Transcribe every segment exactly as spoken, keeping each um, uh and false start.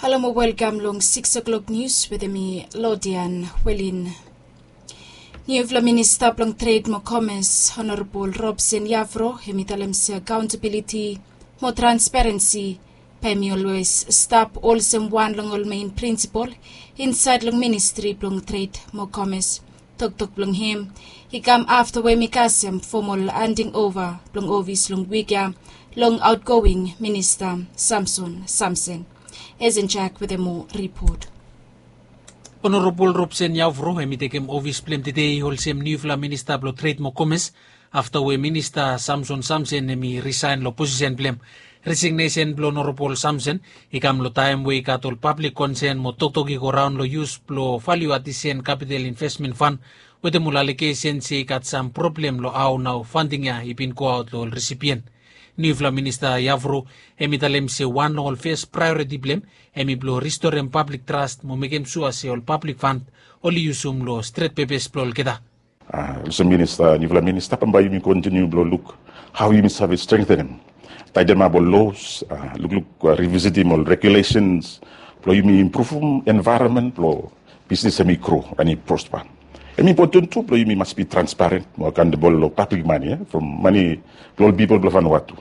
Halo mo welkam long sikis o'klok nius wetem mi, Lodian Welin. Niufala minista blong tred mo komes, Honorabol Robson Yavro, hem i talem se akaontabiliti mo transparensi bae hem i olwes stap olsem wan long ol mein prinsipol insaed long ministri blong tred mo komes. Toktok blong hem i kam afta we hem i kasem fomol handing ova blong ofis long wik ya long aotgoing minista Samson Samson. Esen Jak wetem moa ripot. Honorabol Robson Yavro hem i tekem ofis blong hem tede olsem niufala minista blong tred mo komes, afta we minista Samson Samson hem i risaen long posisen blong hem. Resignesen blong Honorabol Samson i kam long taem we i gat ol pablik konsen mo toktok i goraon long yus blong valiu adisen kapital invesmen fan wetem ol alegesen se i gat sam problem long hao nao fanding ya i bin goaot long ol resipien. Niufala minista Yavro hem i talem se wan long ol fes praeoriti blong hem hem i blong ristorem pablik tras mo mekem sua se ol pablik fan oli yusum long stret pepes blong olgeta. Olsem minista, niufala minista, bambae yumi kontiniu blong luk hao yumi save strengtenem, taetemap ol los, lukluk, rivisitim ol regulesens blong yumi impruvum envaeronmen blong bisnis hem i gro and i prospa. Hem i impoten tu blong yumi mas bi transparen mo akaontabol long pablik mane, from mane blong ol pipol blong Vanuatu.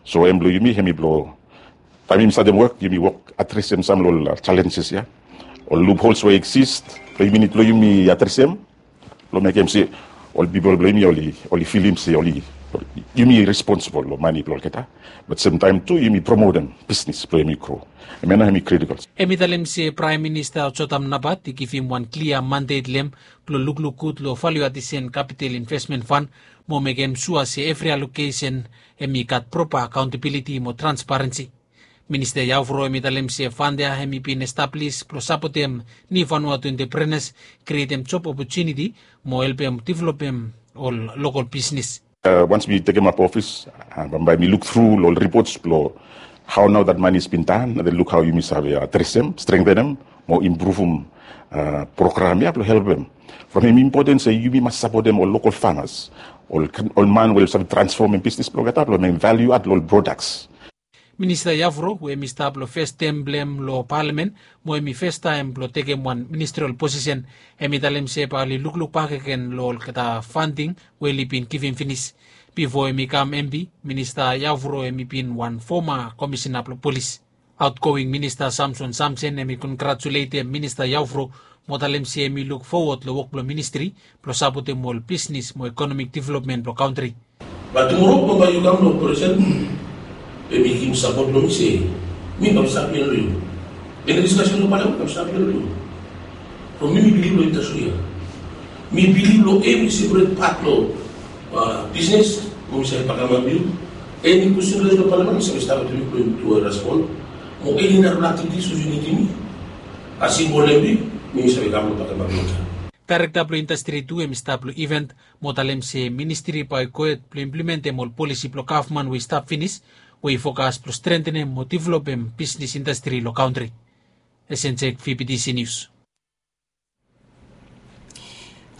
So hem blong yumi hem i blong taem yumi statem wok, yumi wok adresem sam long ol jalenjes ya, ol luphols we i eksis, blong yumi nid blong yumi adresem blong mekem se ol pipol blong yumi oli, oli filim se oli, yumi responsibol long mane blong olgeta, bat semtaem tu yumi promotem bisnis blong yumi gro. Hemia nao hem i kritikol. Hem i talem se Praem Minista Jotam Napat i givim wan klia mandet long hem blong lukluk gud long valiu adisen kapital invesmen fan mo mekem sua se evri alokesen hem i gat propa akaontabiliti mo transparensi. Minista Yavro hem i talem se fan ya hem i bin establis blong sapotem niu Vanuatu enteprenas, krietem job opotuniti mo helpem developem ol lokol bisnis. Wans mi tekemap ofis, bambae mi luk tru long ol ripots blong hao nao dat mane i bin tan, na de luk hao yumi save adresem, strengtenem mo impruvum program ya blong helpem. From hem i impoten se yumi mas sapotem ol lokol famas, ol man we oli save transfomem bisnis blong olgeta blong mekem valiu ad long ol prodaks. Minista Yavro we hem i stap long fes tem blong hem long palamen mo hem i festaem blong tekem wan ministrol posisen, hem i talem se bae oli lukluk bakegen long olgeta fanding we oli bin givim finis. Bifo hem i kam M P, Minista Yavro hem i bin wan foma komisena blong polis. Aotgoing Minista Samson Samson hem i kongratuletem Minista Yavro mo talem se hem i luk fowod long wok blong ministri blong sapotem ol bisnis mo ekonomik developmen blong kantri. Bat tumoro bambae yu kam long operesen, bae mi givim sapot long mi se mi kam stap ia long yu. Eni diskasen long palamen kam stap ia long yu. From mi mi bilif long yu tasol ia. Mi bilif long evri seperet pat long bisnes, mo mi save bakamap yu. Eni kwestin long palamen mi save stap long yu blong yu tu respon. Mo eni narafala aktivitis we yu nidim mi, as simbol long mi, mi save kam long bakamap yu. Daerekta blong indastri tu hem i stap long iven mo talem se ministri bae i gohed blong implementem ol polisi blong gavman we i stap finis, we i fokas blong strentenem mo developem bisnis indastri long kantri. Esen Jek, V B T C Nius.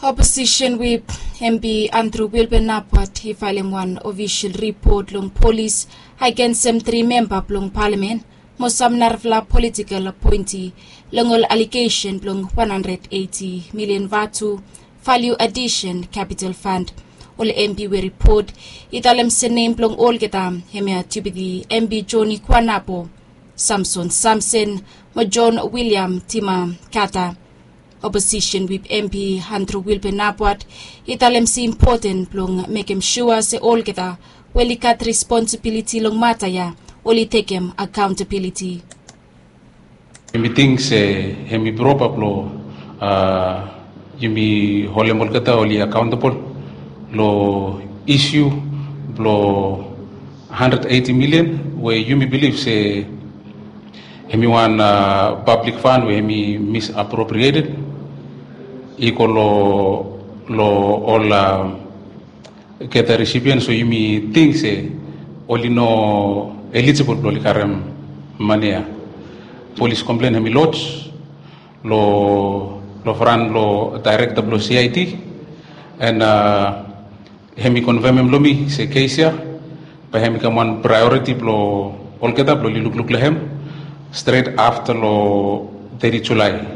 Oposisen wip M P Andrew Wilbur Napwat i faelem wan ofisol ripot long polis agensem tri memba blong palamen mo sam narafala politikel apoenti long ol alegesen blong wan handred eiti milian vatu, valiu adisen kapital fand. Ol M P we ripot i talem se nem blong olgeta hemia Deputi M P Joni Kuanapo, Samson Samson mo John William Timakata. Oposisen wip M P Andrew Wilbur Napwat i talem se impoten blong mekem sua se olgeta we oli gat responsibiliti long mata ya oli tekem akaontabiliti. Yumi ting se hemi propa blong yumi holem olgeta oli akaontabol long isu blong handred eiti milian we yumi bilif se hemi wan pablik fan we hemi misappropriated i go long ol olgeta resipian, so yumi ting se oli no elijibol blong oli karem mane ya. Polis komplen hemi loj long fran blong daerekta blong C I D, and hemi konfemem long mi se kes ya bae hemi kam wan praeoriti blong olgeta blong oli lukluk long hem Stret afta long teti Julae.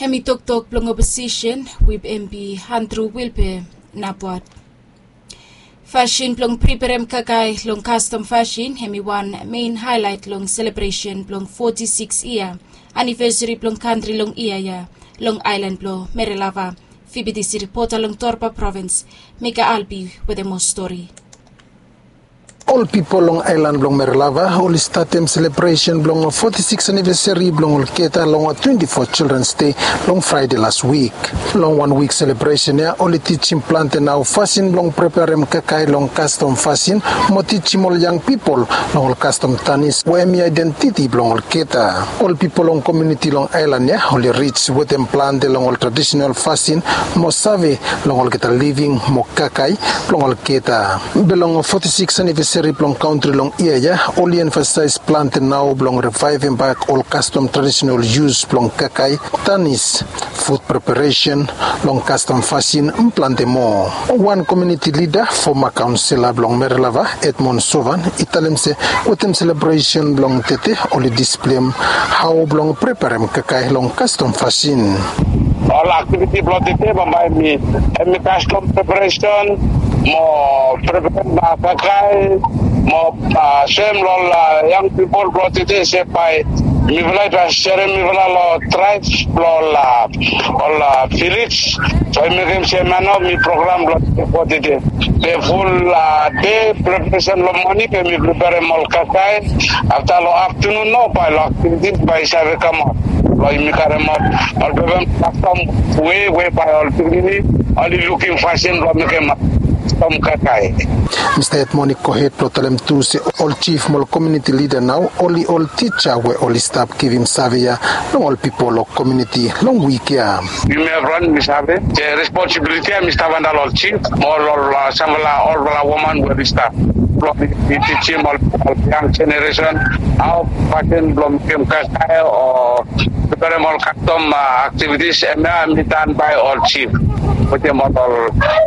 Hemi toktok blong oposisen, wip empi Andrew Wilpe Napwat. Fasin blong preperem kakae long kastom fasin hemi wan mein haelait long selebresen blong foti siks yia anivesari blong kantri long yia ya long aelan blong Merelava. Fibitisi ripota long Torba provins, Mika Albi wetem moa stori. Ol pipol long aelan blong Merelava oli statem selebresen blong foti siks anivesari blong ol Keta long twenti fo Childrens Dei long Fraede las wik. Long wan wik selebresen ya oli tijim plante nao fasin blong preperem kakae long kastom fasin mo tijim ol yang pipol long ol kastom tanis we hemi aedentiti blong ol Keta. Ol pipol long komuniti long aelan ya oli rij wetem plante long ol tradisenal fasin mo save long olgeta living mo kakae blong ol Keta. Be long foti siks anivesari blong kantri long yia ya oli emfasaes plante nao blong rivaevem bak ol kastom tradisenal yus blong kakae, tanis, fut preperesen long kastom fasin, plante moa. Wan komuniti lida, foma kaonsela blong Merelava, Edmond Sovan, i talem se wetem selebresen blong tete oli displeim hao blong preperem kakae long kastom fasin. Ol aktiviti blong tete bambae hemi kastom preperesen mo preperem kakae mo sem long ol yang pipol blong tete se bae mifala i bae serem mifala long traibs blong ol ol vilej. So i mekem se man nao mi program blong tete. Be ful dei preperesen long moning be mi preperem ol kakae. Afta long aftanun nao bae long aktivitis bae i save kamaot long yumi karemaot ol pepa kastom we we bae ol pikinini oli lukim fasin blong mekem kastom kakae. Mista Edmond i gohed blong talem tu se ol jif mo ol komuniti lida nao oli ol tija we oli stap givim save ya long ol pipol long komuniti long wik ya. Yumi evriwan mi save se responsibiliti ya mi stap anda long ol jif mo ol samfala olfala woman we oli stap blong i tijim ol yang jeneresen hao fasin blong mekem kakae o preperem ol kastom aktivitis. Hemia hemi tan bae ol jif wetem ol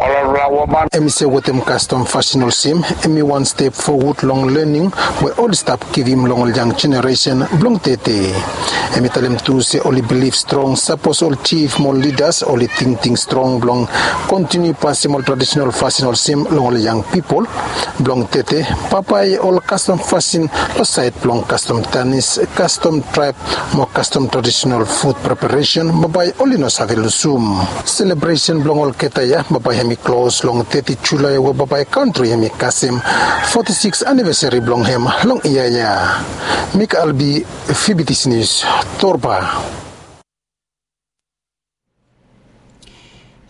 olfala woman. Hemi se wetem kastom fasin olsem hemi wan step fowod long lening we oli stap givim long ol yang jeneresen blong tete. Hemi talem tu se oli bilif strong sapos ol jif mo ol lidas oli tingting strong blong kontiniu pasem ol tradisenal fasin olsem long ol yang pipol blong tete, bambae ol kastom fasin long saed blong kastom tanis, kastom traeb mo kastom tradisenal fut preperesen bambae oli no save lusum. Selebresen blong ol Keta ya bambae hemi klos long teti Julae we bambae kantri hemi kasem foti siks anivesari blong hem long yia ya. Mika Albi, Fibitisi Nius, Torba.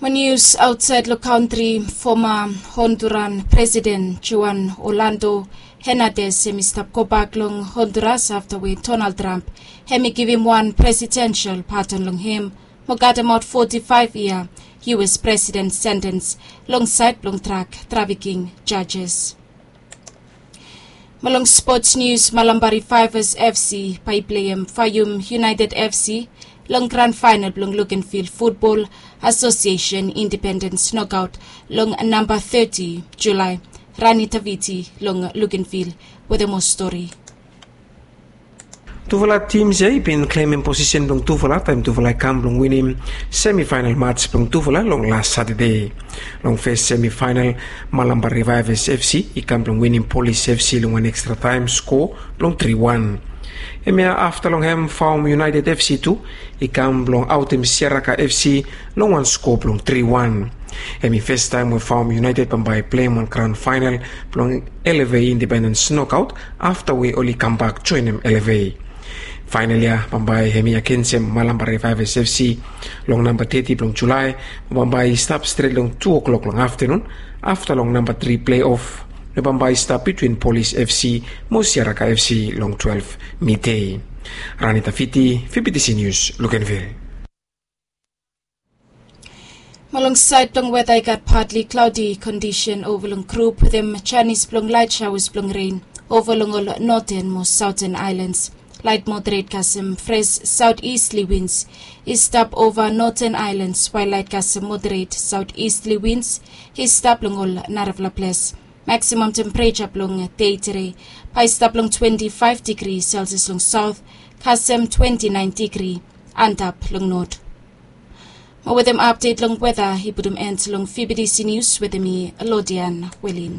Mo nius aotsaed long kantri, foma Honduran Presiden Juan Orlando Hernandez hemi stap gobak long Honduras afta we Donald Trump hemi givim wan presidensel padon long hem mo katemaot foti faef yia U S presiden sentens long saed blong drak trafiking jajes. Mo long spots nius, Malampa Revives F C bae i pleim Fayum United F C long gran faenal blong Luganville Futbol Asosiesen Indipendens Nokaot long namba teti Julae. Rani Taviti long Luganville wetem moa stori. Tufala tims ya i bin klemem posisen blong tufala taem tufala i kam blong winim semifaenal mats blong tufala long las Satade. Long fes semifaenal, Malampa Revives F C i kam blong winim Polis F C long wan ekstra taem sko blong tri wan. Hemia afta long hem Faum United F C tu i kam blong aotem Siaraka F C long wan sko blong tri wan. Hemi festaem we Faum United bambae i pleim wan gran faenal blong L F A Indipendens Nokaot afta we oli kambak joenem L F A. Faenal ya bambae hemi agensem Malampa Revives F C long namba teti blong Julae, bambae i stap stret long tu o'klok long aftanun afta long namba tri pleof we bambae i stap bitwin Polis F C mo Siaraka F C long twelef midei. Rani Taviti, Fibitisi Nius, Luganville. Mo long saed blong weta i gat patli klaodi kondisen ova long grup wetem janis blong laet saoas blong ren ova long ol noten mo saoten aelans. Laet moderet kasem fres saotistli wins i stap ova noten aelans wael laet kasem moderet saotistli wins i stap long ol narafala ples. Maksimam tempereja blong dei tede bae i stap long twenti faef digri selsias long saot kasem twenti naen digri antap long not. Mo wetem apdet long weta i putum en long fibidisi nius wetem mi, lodian welin.